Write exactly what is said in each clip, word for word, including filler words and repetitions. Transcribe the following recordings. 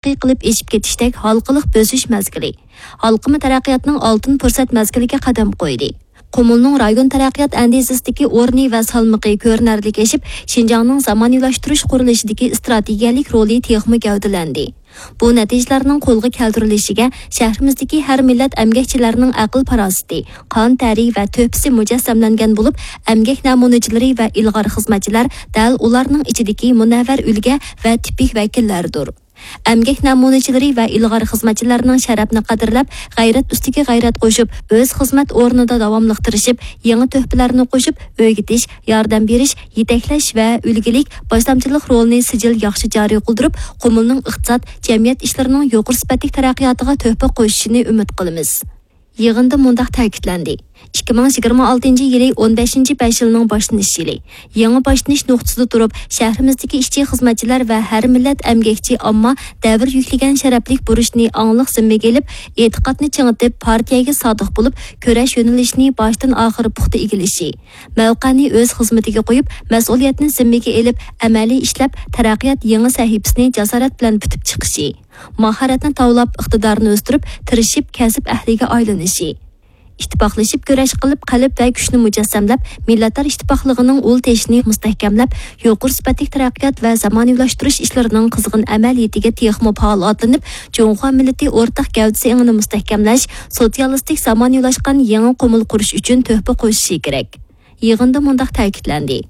تەرەققىي قىلىپ ئېشىپ كېتىشتەك ھالقىلىق بۆسۈش مەزگىلى، ھالقىما تەرەققىياتنىڭ ئالتۇن پۇرسەت مەزگىلىگە قەدەم قويدى. قۇمۇلنىڭ رايون تەرەققىيات ئەندىزىسىدىكى ئورنى ۋە سالمىقى كۆرۈنەرلىك ئېشىپ، شىنجاڭنىڭ زامانىۋىلاشتۇرۇش قۇرۇلۇشىدىكى ئىستراتېگىيەلىك رولى تېخىمۇ گەۋدىلەندى. بۇ نەتىجىلەرنىڭ قولغا كەلتۈرۈلۈشىگە شەھىرىمىزدىكى ھەر مىللەت ئەمگەكچىلەرنىڭ ئەقىل-پاراسىتى، قان تەرى ۋە تۆھپىسى مۇجەسسەملەنگەن بولۇپ، ئەمگەك نەمۇنىچىلىرى ۋە ئىلغار خىزمەتچىلەر دەل ئۇلارنىڭ ئىچىدىكى مۇنەۋۋەر ئۈلگە ۋە تىپىك ۋەكىللەردۇر. ئەمگەك نەمۇنىچىلىرى ۋە ئىلغار خىزمەتچىلەرنىڭ شەرەپنى قەدىرلەپ، غەيرەت ئۈستىگە غەيرەت قوشۇپ، ئۆز خىزمەت ئورنىدا داۋاملىق تىرىشىپ، يېڭى تۆھپىلەرنى قوشۇپ، ئۆگىتىش، ياردەم بېرىش، يېتەكلەش ۋە ئۈلگىلىك باشلامچىلىق رولىنى سىجىل ياخشى جارى قىلدۇرۇپ، قۇمۇلنىڭ ئىقتىساد، جەمئىيەت ئىشلىرىنىڭ يۇقىرى سۈپەتلىك تەرەققىياتىغا تۆھپە قوشۇشىنى ئۈمىد قىلىمىز. يىغىندا مۇنداق تەكىتلەندى: ئىككى مىڭ يىگىرمە ئالتىنچى يىلى ئون بەشىنچى بەش يىلنىڭ باشلىنىش يىلى. يېڭى باشلىنىش نۇقتىسىدا تۇرۇپ، شەھىرىمىزدىكى ئىشچى-خىزمەتچىلەر ۋە ھەر مىللەت ئەمگەكچى ئامما دەۋر يۈكلىگەن شەرەپلىك بۇرچنى ئاڭلىق زىممىگە ئېلىپ، ئېتىقادنى چىڭىتىپ، پارتىيەگە سادىق بولۇپ، كۈرەش يۆنىلىشىنى باشتىن ئاخىر پۇختا ئىگىلىشى، مەۋقەنى ئۆز خىزمىتىگە قويۇپ، مەسئۇلىيەتنى زىممىگە ئېلىپ، ئەمەلىي ئىشلەپ، تەرەققىيات يېڭى سەھىپىسىنى جاسارەت بىلەن پۈتۈپ چىقىشى، ماھارەتنى تاۋلاپ، ئىقتىدارنى ئۆستۈرۈپ، تىرىشىپ، كەسىپ ئەھلىگە ئايلىنىشى. ئىتتىپاقلىشىپ كۈرەش قىلىپ، قەلب ۋە كۈچنى مۇجەسسەملەپ، مىللەتلەر ئىتتىپاقلىقىنىڭ ئۇل تېشىنى مۇستەھكەملەپ، يۇقىرى سۈپەتلىك تەرەققىيات ۋە زامانىۋىلاشتۇرۇش ئىشلىرىنىڭ قىزغىن ئەمەلىيىتىگە تېخىمۇ پائال ئاتلىنىپ، جۇڭخۇا مىللىتى ئورتاق گەۋدىسى ئېڭىنى مۇستەھكەملەش، سوتسىيالىستىك زامانىۋىلاشقان يېڭى قۇمۇل قۇرۇش ئۈچۈن تۆھپە قوشۇشى كېرەك. يىغىندا مۇنداق تەكىتلەندى: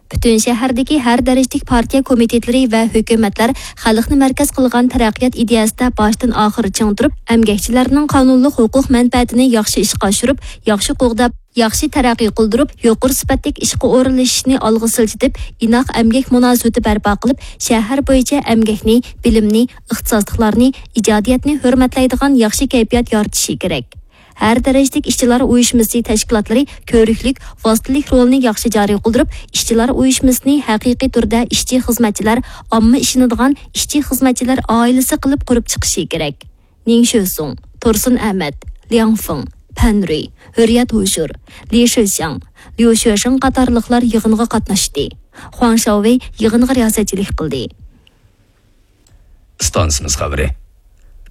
پۈتۈن شەھەردىكى ھەر دەرىجىلىك پارتىيە كومىتېتلىرى ۋە ھۆكۈمەتلەر خەلقنى مەركەز قىلغان تەرەققىيات ئىدىيەسىدە باشتىن ئاخىر چىڭ تۇرۇپ، ئەمگەكچىلەرنىڭ قانۇنلۇق ھوقۇق مەنپەئەتىنى ياخشى ئىشقا ئاشۇرۇپ، ياخشى قوغداپ، ياخشى تەرەققىي قىلدۇرۇپ، يۇقىرى سۈپەتلىك ئىشقا ئورۇنلىشىشىنى ئالغا سىلجىتىپ، ئىناق ئەمگەك مۇناسىۋىتى بەرپا قىلىپ، شەھەر بويىچە ئەمگەكنى، بىلىمنى، ئىختىساسلىقلارنى، ئىجادىيەتنى ھۆرمەتلەيدىغان ياخشى كەيپىيات يارىتىشى كېرەك. ھەر دەرىجىلىك ئىشچىلار ئۇيۇشمىسى تەشكىلاتلىرى كۆۋرۈكلۈك، ۋاسىتىلىك رولىنى ياخشى جارى قىلدۇرۇپ، ئىشچىلار ئۇيۇشمىسىنى ھەقىقىي تۈردە ئىشچى-خىزمەتچىلەر، ئامما ئىشىنىدىغان ئىشچى-خىزمەتچىلەر ئائىلىسى قىلىپ قۇرۇپ چىقىشى كېرەك. نىڭ شۆسۇڭ، تۇرسۇن ئەمەت، لياڭ فېڭ، پەن رۇي، ھۆرىيەت ھوشۇر، لى شىشياڭ، ليۇ شۆشېڭ قاتارلىقلار يىغىنغا قاتناشتى. خۇاڭ شاۋۋېي يىغىنغا رىياسەتچىلىك قىلدى. ئىستانسىمىز خەۋىرى.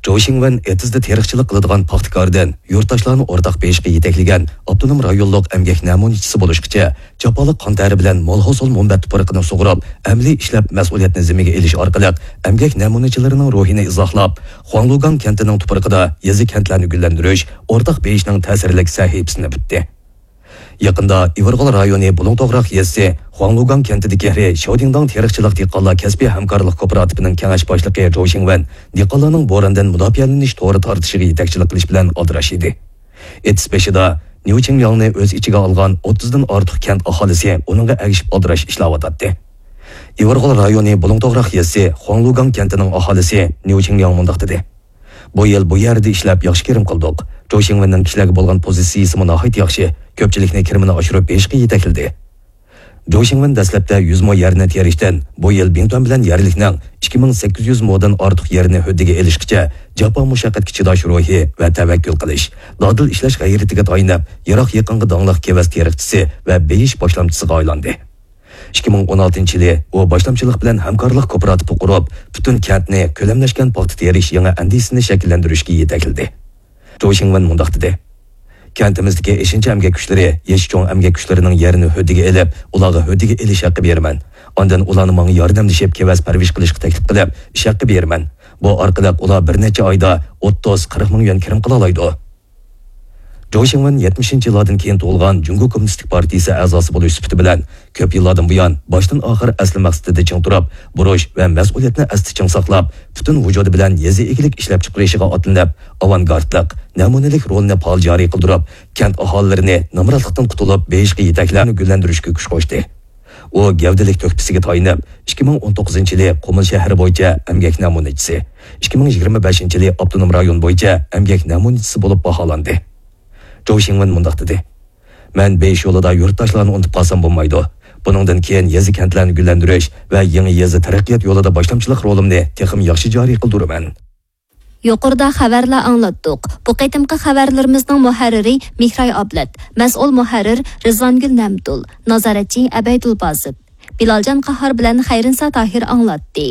جوۋ شىڭۋېن ئېتىزدا تېرىقچىلىق قىلىدىغان پاختىكاردىن يۇرتداشلارنى ئورتاق بېيىشقا يېتەكلىگەن ئاپتونوم رايونلۇق ئەمگەك نەمۇنىچىسى بولۇشقىچە جاپالىق قان تەرى بىلەن مول ھوسۇل مۇنبەت تۇپرىقىنى سۇغۇرۇپ، ئەمەلىي ئىشلەپ مەسئۇلىيەتنى زىممىگە ئېلىش ئارقىلىق ئەمگەك نەمۇنىچىلىرىنىڭ روھىنى ئىزاھلاپ، خۇاڭلۇگاڭ كەنتىنىڭ تۇپرىقىدا يېزا-كەنتلەرنى گۈللەندۈرۈش، ئورتاق بېيىشنىڭ تەسىرلىك سەھىپىسىنى پۈتتى. يېقىندا ئىۋىرغول رايونى بۇلۇڭ توغراق يېزىسى خۇاڭلۇگاڭ كەنتىدىكى شياۋدىڭداڭ تېرىقچىلىق دېھقانلار كەسپىي ھەمكارلىق كوپىراتىپىنىڭ كېڭەش باشلىقى جوۋ شىڭۋەن دېھقانلارنىڭ بوراندىن مۇداپىئەلىنىش تورى تارتىشىغا يېتەكچىلىك قىلىش بىلەن ئالدىراش ئىدى. ئېتىز بېشىدا نيۇ چىڭلياڭنى ئۆز ئىچىگە ئالغان ئوتتۇزدىن ئارتۇق كەنت ئاھالىسى ئۇنىڭغا ئەگىشىپ ئالدىراش ئىشلەۋاتاتتى. ئىۋىرغول رايونى بۇلۇڭ توغراق يېزىسى خۇاڭلۇگاڭ كەنتىنىڭ ئاھالىسى نيۇ چىڭلياڭ مۇنداق دېدى: بۇ يىل بۇ يەردە ئىشلەپ ياخشى كىرىم قىلدۇق. جوۋ شىڭۋېننىڭ كىشىلەرگە بولغان پوزىتسىيىسىمۇ ناھايىتى ياخشى، كۆپچىلىكنى كىرىمىنى ئاشۇرۇپ بېيىشقا يېتەكلىدى. جوۋ شىڭۋېن دەسلەپتە يۈز مو يەرنى تېرىشتىن، بۇ يىل بىڭتۈەن بىلەن يەرلىكنىڭ ئىككى مىڭ سەككىز يۈز مودىن ئارتۇق يەرنى ھۆددىگە ئېلىشقىچە جاپا مۇشەققەتكە چىداش روھى ۋە تەۋەككۈل قىلىش، دادىل ئىشلەش غەيرىتىگە تايىنىپ، يىراق يېقىنغا داڭلىق كېۋەز تېرىقچىسى ۋە بېيىش باشلامچىسىغا ئايلاندى. ئىككى مىڭ ئون ئالتىنچى يىلى ئۇ باشلامچىلىق بىلەن ھەمكارلىق كوپىراتىپى قۇرۇپ، پۈتۈن كەنتنى كۆلەملەشكەن پاختا تېرىش يېڭى ئەندىزىسىنى شەكىللەندۈرۈشكە يېتەكلىدى. جوۋ شىڭۋېن مۇنداق دېدى: كەنتىمىزدىكى ئېشىنچا ئەمگەك كۈچلىرى يېشى چوڭ ئەمگەك كۈچلىرىنىڭ يېرىنى ھۆددىگە ئېلىپ، ئۇلارغا ھۆددىگە ئېلىش ھەققى بېرىمەن. ئاندىن ئۇلارنى ماڭا ياردەملىشىپ كېۋەز پەرۋىش قىلىشقا تەكلىپ قىلىپ، ئىش ھەققى بېرىمەن. بۇ ئارقىلىق ئۇلار بىر نەچچە ئايدا ئوتتۇز، قىرىق مىڭ يۈەن كىرىم قىلالايدۇ. جوۋ شىڭۋېن يەتمىشىنچى يىللاردىن كېيىن تۇغۇلغان جۇڭگو كوممۇنىستىك پارتىيىسى ئەزاسى بولۇش سۈپىتى بىلەن، كۆپ يىللاردىن بۇيان باشتىن ئاخىر ئەسلى مەقسىتىدە چىڭ تۇرۇپ، بۇرچ ۋە مەسئۇلىيەتنى ئەستە چىڭ ساقلاپ، پۈتۈن ۋۇجۇدى بىلەن يېزا ئىگىلىك ئىشلەپچىقىرىشىغا ئاتلىنىپ، ئاۋانگارتلىق، نەمۇنىلىك رولىنى پائال جارى قىلدۇرۇپ، كەنت ئاھالىلىرىنى نامراتلىقتىن قۇتۇلۇپ، بېيىشقا يېتەكلەرنى گۈللەندۈرۈشكە كۈچ قوشتى. ئۇ گەۋدىلىك تۆھپىسىگە تايىنىپ، ئىككى مىڭ ئون توققۇزىنچى يىلى قۇمۇل شەھىرى بويىچە ئەمگەك نەمۇنىچىسى، ئىككى مىڭ يىگىرمە بەشىنچى يىلى ئاپتونوم رايون بويىچە ئەمگەك نەمۇنىچىسى بولۇپ باھالاندى. جوۋ شىڭۋېن مۇنداق دېدى: مەن بېيىش يولىدا يۇرتداشلارنى ئۇنتۇپ قالسام بولمايدۇ. بۇنىڭدىن كېيىن يېزا-كەنتلەرنى گۈللەندۈرۈش ۋە يېڭى يېزا تەرەققىيات يولىدا باشلامچىلىق رولۇمنى تېخىمۇ ياخشى جارى قىلدۇرىمەن. يۇقىرىدا خەۋەرلەر ئاڭلاتتۇق. بۇ قېتىمقى خەۋەرلىرىمىزنىڭ مۇھەررىرى مېھراي ئابلەت، مەسئۇل مۇھەررىر رىزۋانگۈل نەمتۇل، نازارەتچى ئەبەيدۇل باسىت. بىلالجان قاھار بىلەن خەيرىنسا تاھىر ئاڭلاتتى.